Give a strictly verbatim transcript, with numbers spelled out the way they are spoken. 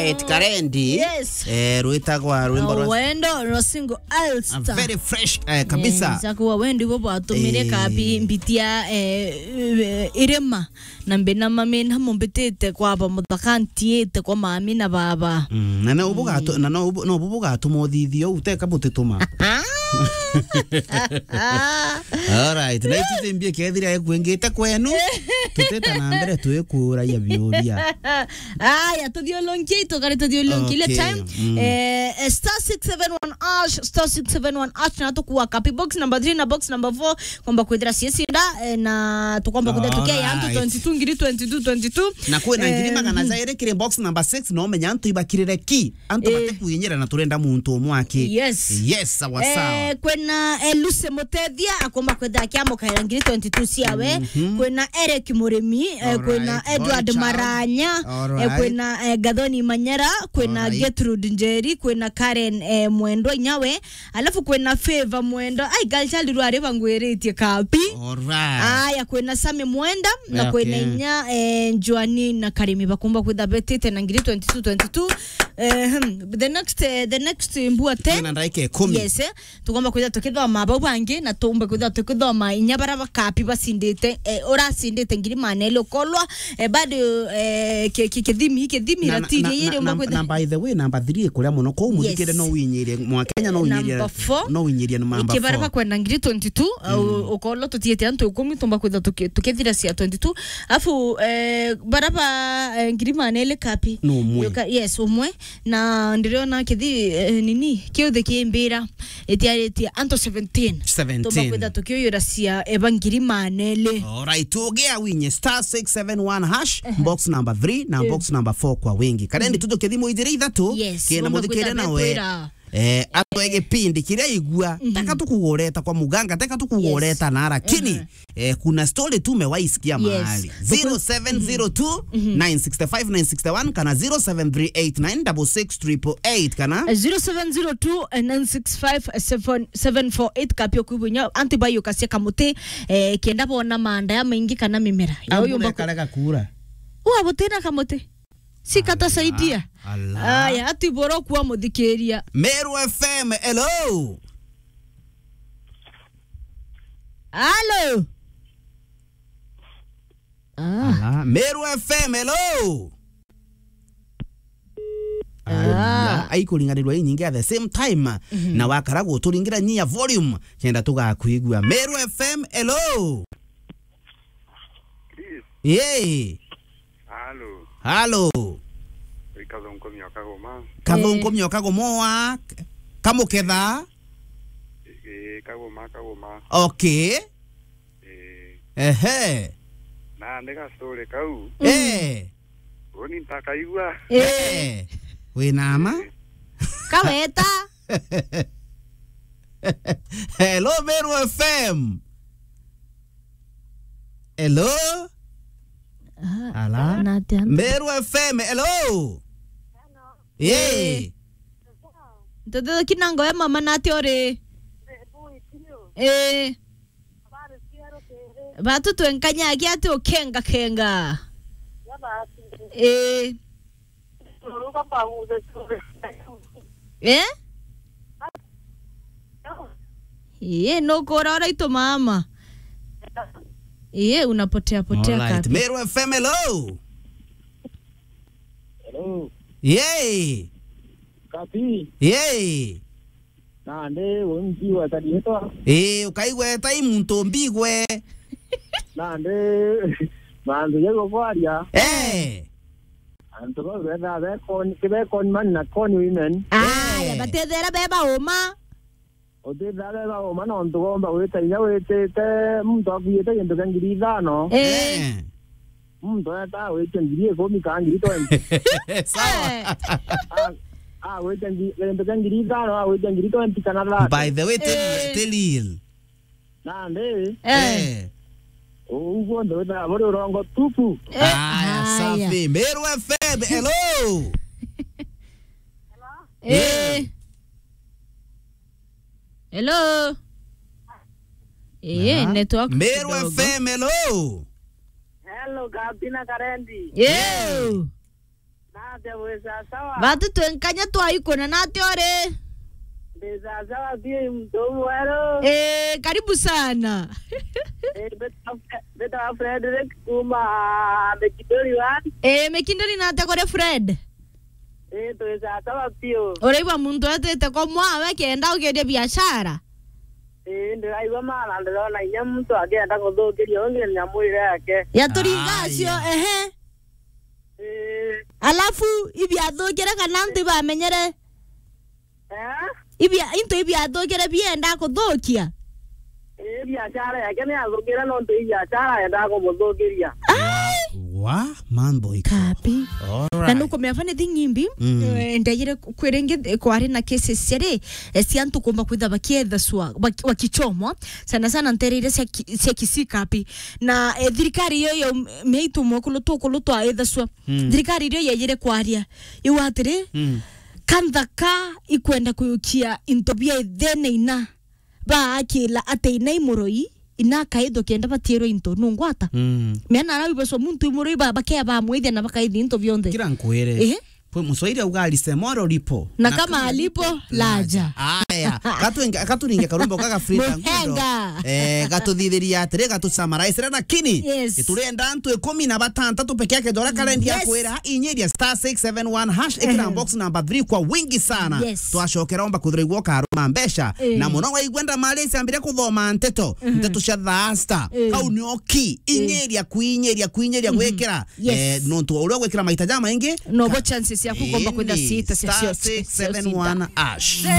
Eti Karendi. Yes. Eh, rwitagwa rwimbo rwa Wendo rwa single A Ulster. Very fresh, eh, kabisa. Eh, za kuwa wendi bo bwatumire Eh. kabi mbitia, eh, eh, irima. Na mbina mami na mumbitite kwa ba muthaka ntiite kwa mami na baba. Mm, na no bugatu-, na no bu-, no bu bugatuma uthithia u, teka butituma. All right, na itu thimbie kethira ekwingite kwenu, tuteta na mbere twikuragia biuria. Aya, tuthiulunkie, tukari tuthiulunkie ile Okay, time. mm. Eh, eh, star six seven one hash, star six seven one hash, na tukua kapi box number three na box number four, kwamba kwithira ciacinda, eh, na tukwamba kwithira tukia ya antu Alright. twenty-two, ngiri twenty-two, twenty-two. Na kwina ngiri Eh, magana mhm. jairi kiri box number six, no menya antu ibakirire ki. Antu Eh. bate kwinyira na turenda muntu umwe aki. Yes. Yes, sawa, sawa. Eh, kwina, eh, Lucy Mutethia, akomba kwithira akiamukaira ngiri twenty-two ciawe. Mhm. Kwina Eric Murimi, eh, Alright, kwina Edward Boy Child. Maranya, eh, Alright. kwina, eh, Gathoni Manyera, kwina Alright. Gertrude Njeri, kwina Karen, eh, Mwendwa Inyawe, alafu kwina Favor Mwendo. Ai, girl child rwari bangwiritie kapi. Alright. Aya, kwina Sami Mwenda, na Okay. kwina inya, eh, Joani na Karimi bakumba kwitha betite na ngiri twenty-two, twenty-two. Eh, hmm, the next, eh, the next mbua ten. Kwina ndaika ikumi. Yes, eh. Tukomba kwitha tukithoma bau bangi, na tumbe kwitha tukithoma inya bara bakapi bacindite, eh, uracindite ngiri maneli ukolwa, eh, bado, eh, ki-, ki-, kithimi, kithimi Na, na, ratini na, yiri na, umba na, kwitha na by the way, number three ikuria muno. Kou muthikire Yes. no winyirie, mwa Kenya no winyirie, Number four. no winyirie ni number Ikibara four. bakwenda ngiri twenty-two, au Mm. ukolwa tutiete antu ikumi, tumba kwitha tuki-, tukithira cia twenty-two. Afu, eh, bara ba, eh, ngiri maneli kapi? No umwe. Yuka-, yes, umwe. Na ndiriona kithi, eh, nini, kiuthi kimbira, itiaritie antu seventeen. Seventeen. Tumba kwitha tukiuyura cia eba ngiri maneli. Alright, tugia winye star six seven one hash, Ehe. box number three na Eh. box number four kwa wingi. Karendi tutuke thimu ijiri ithatu, Yes, kena tumba muthikire kwitha nawe. betwira. Eh, atwe gipindi kiria igua, Mhm. teka tukugureta kwa muganga, teka tukugureta Yes. na, lakini, Ehe. eh, kuna story tu umewahi sikia Yes. mahali. Tuku- Zero seven zero two, nine six five, nine six one kana zero seven three eight nine six six triple eight kana Eh, zero seven zero two, nine six five, seven seven four eight kapio kwibunya antu bayukasia kamuti, eh, kenda bona manda ya maingi kana mimera. Ya Ambura uyu mbaku- ikarega kuura. Uwa butina kamuti. Sikatasaidia. Ala. Aya, ati boro kuwa muthikiria. Meru F M, hello. Halo. Ah. Ala, Meru F M, hello. Ah. Aya, aikuringanirwa inyingi at the same time. Mhm. Na wakara guturingira nyia volume, kenda tugakwigua. Meru F M, hello. Chris. Yee. Halo. Halo. Wi Kathunkumio Kagoma. Kathunkumio Kagoma wa Kamuketha. Ii, Kagoma, Kagoma. Okay. Ii. Ehe. Na ni ga story kau. Mm. Eh. Uni ntakaigua. Eh. Eh. Wina ma? Kaweta. Hello, Meru F M. Hello? Ah, Ala? na atia antu? Meru F M, hello? Yee. Ntuthuthuki na ngoya mama na atia uri? Eh. Batu twenkanyaki ati ukenga kenga. Eh. Eh? Eh, nukura uraitu mama. Eh, unapotea potea Alright. kapi. Meru F M, hello. Hello. Yee. Kapi. Yee. Nandi, uu ntigweta riitwa. Ii, ukaigweta i muntu mbigwe. Nandi, mantu jau ukwaria. Eh. Antu bau bethaa be con-, ki be con man na con women. Aya, Eh. batethera be bauma. Utethera be bauma nontu gomba gwita inya witite muntu akuite gintu kia ngiri ithano. Eh. Eh. Muntu eta agwitia ngiri ikumi kana ngiri twenty. Sawa. Eh. A-, agwitia ngi-, gintu kia ngiri ithano, agwitia ngiri twenty kana thirty. By the way, ti, Eh. ti real. Nandi, Eh. Eh. uu guonthe withaga buri urongo tupu. Eh, Aya, haya. safi. Meru F M, hello. Eh. Eh. Hello. Eh, Aha. network Meru kidogo. F M, hello. Hello, Gabina Karendi. Yo. Na Ate wĩ sawa sawa. Batu twenkanya twaikuna na ati uri? Ndi sawa sawa, pia muntu mweru. Eh, karibu sana. Eh, mbeta, mbeta Frederick kuma Mekindori one. Eh, Mekindori na ate kuri Fred? Eh, twi sawa sawa piu. Uraigua muntu etite ko mwawe kenda ukiendia biashara? Eh, ndiraigua maana, ndirona inya muntu akienda kuthukiria ungi nyamu iria yake. Yaturinga acio, ehe. Eh. Alafu, ibiathukire kana antu ibamenyere? Eh? Ibia-, into ibiathukire bienda kuthukia? Eh, biashara yake ni yathukire, nontu i biashara yendaga kumuthukiria. Ai! Wa, mambo iko. Kapi. Alright. Na nukumea funny thing imbi, mm, eh, ndejire ku-, kwiringi, eh, kwari na cases ciari, eh, cia antu kumba kwitha bakiethacua, baki-, bakichomwa, sana sana ntereire cia ki-, cia Kisii kapi. Na, eh, thirikari iyo yo m-, miaitu mwekulu tukulu twa ethacua. Mm. Thirikari irio yejire kwaria. Iu atiri, mm, kanthaka ikwenda kuyukia into bia ithene ina. Baakila ati ina i muroi, ina akaithwa kenda batiirwe into. Nungwata? Mm. Mena arau ibacwa muntu i muroi ba-, bakea bamwithia na bakaithi into bionthe. Kira nkwire. Ehe. Kwi Muswahili auga, "Lisemwalo lipo. Na na kama kama alipo, lipo, laja." Laja. Aya. Katuinge-, katuringe karumbo gaga Frida Ngundo. Muhenga. Eh, gatuthithiria atiri, gatusummarize, lakini, yes, turenda antu ikumi na batantatu peke yake, jora karendi ya, yes, kwira, inyiria star six seven one hash, ikira, ehe, box number three kwa wingi sana. Yes. Twacokera omba kuthira igwo karuma mbeca. Eh. Na muno waigua ndamari ciambire kuthoma nteto, mhm, nteto cia disaster. Eh. Kau nio ki, eh, inyiria, kuinyiria, kuinyiria, mhm, gwikira. Yes. Eh, nontu uria gwikira maita jamaingi. Nobo chances ya kukomba kwenda sita, star six seven one hash.